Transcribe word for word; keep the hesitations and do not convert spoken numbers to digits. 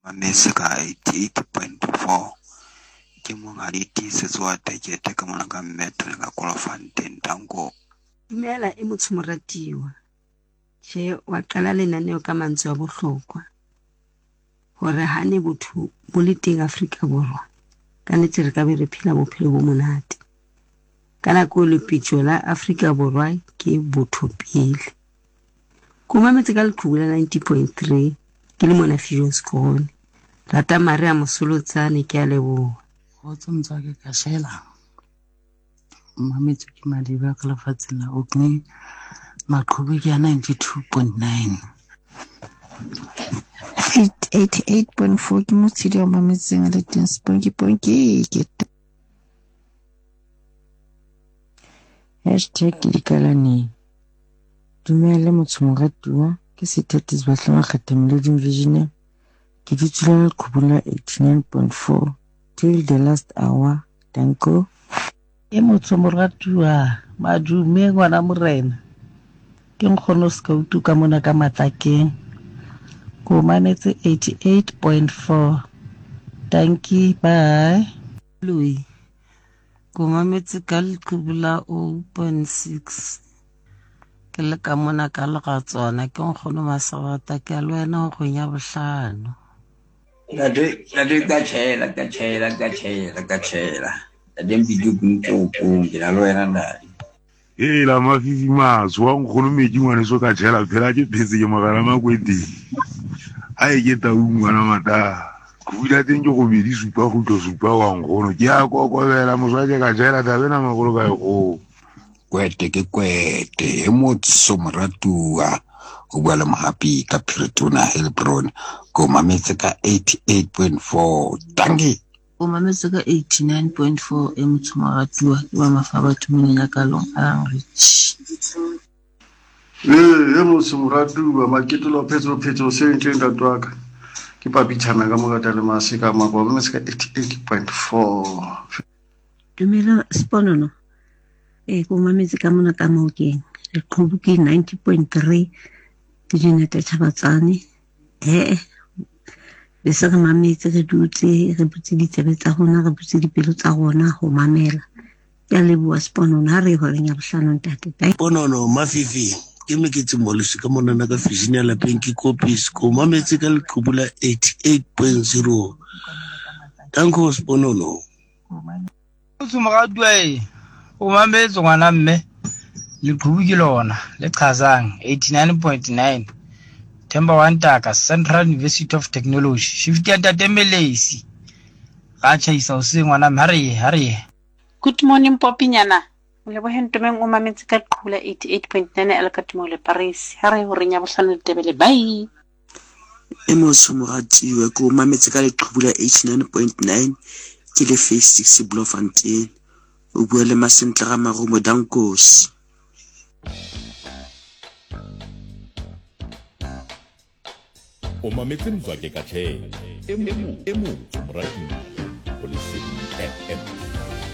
Mametse ka eighty-eight point four. Ke monghadi Tiisetso wa Tekete ka mona ka Mmetone ka Kolofontein. Danko. Dumela e motho moratiwa. Tjhe, wa qala lenaneo ka mantswe a bohlokwa. Hore ha ne botho bo le teng Afrika Borwa, ka nnete re ka be re phela bophelo bo monate. Ka nako lepitjo la Afrika Borwa ke botho pele. Ko mametse ka leqhubu la ninety point three ke le mona Viljoenskroon. Rata Maria Mosolotsane, ke a leboha. Kgotso motswake ka shela. Mametse ke Madiba ka lefatsheng la Orkney. Maqhubu ke a ninety-two point nine. eighty-eight point four ke motshedi wa mametseng a le teng Sponky Ponky ke Hashtag Likalaneng. Dumela motho moratuwa, ke Sethatisi Sebahle Makgetha Meloding Visionaire. Ke dutse le leqhubung la eighty-nine point four till the last hour. Danko. E motho moratuwa, madume ngwana morena. Ke nkgono Skautu ka mona ka Matlakeng. Ko mametse eighty-eight point four. Dankie, bye. Louis. Ko mametse ka leqhubu la oh point six. Ke le ka mona ka Leratswana, ke nkgono Masabata, ke a le wena ho kgweng ya bohlano. Ntate, ntate ka tjhela, ka tjhela, ka tjhela, ka tjhela. Ntate Mpidi ke ntse ke na le wena ntate. Hela mafifi matsho wa nkgono metsi ngwaneso ka tjhela phela ke phetse ke mogala makweteng. Ai ke tau ngwana mata. Go teng ke robedi supa kgutlo supa wa nkgono. Ke a kokobela moswake ka tjhela taba ena magolo ka e kgolo. Kwete ke kwete e motso moratuwa o bua le Mohapi ka Phiritona Heilbron. Ko mametse ka eighty-eight point four. Dankie. O mametse ka eighty-nine point four e motho moratuwa ke ba mafa batho mona ya kalong a rich. Eh e motho moratuwa maketlo phetso phetso se ntle ntate wa ka. Ke papichana ka mogata le maseka mako mametse ka eighty-eight point four. Dumela Sponono. E ko mametse ka mona ka Maokeng. Leqhubu ke ninety point three ke Jeanette Chabatsane. Eh be se re mametse re dutse re butse ditsebe tsa rona re butse dipelo tsa rona ho mamela. Ke a leboha Sponono, ha re horeng ya bohlano ntate. Sponono mafifi ke meketse molosi ka monana ka vision ya lapeng ke kopis ko mametse ka leqhubu la eighty-eight point zero. Danko Sponono. Motho moratuwa e o mametse ngwana mme leqhubu ke lona le qhazang eighty-nine point nine. Themba wa Ntaka Central University of Technology. Shift ya ntate Melesi. Ga tjhaisa o se ngwana mme ha re ha re. Good morning Popinyana. O lebohe ntomeng o mametse ka leqhubu la eighty-eight point nine el Katimo le Paris. Ha re horeng ya bohlano Letebele. Bye. E motho moratuwa ke o mametse ka leqhubu la eighty-nine point nine ke le Phase six Bloemfontein. O bua le Masentle ga Marumo Dankosi. O mametse Mzwake ka tjhela. E mo e motho moratuwa ho Lesedi F M.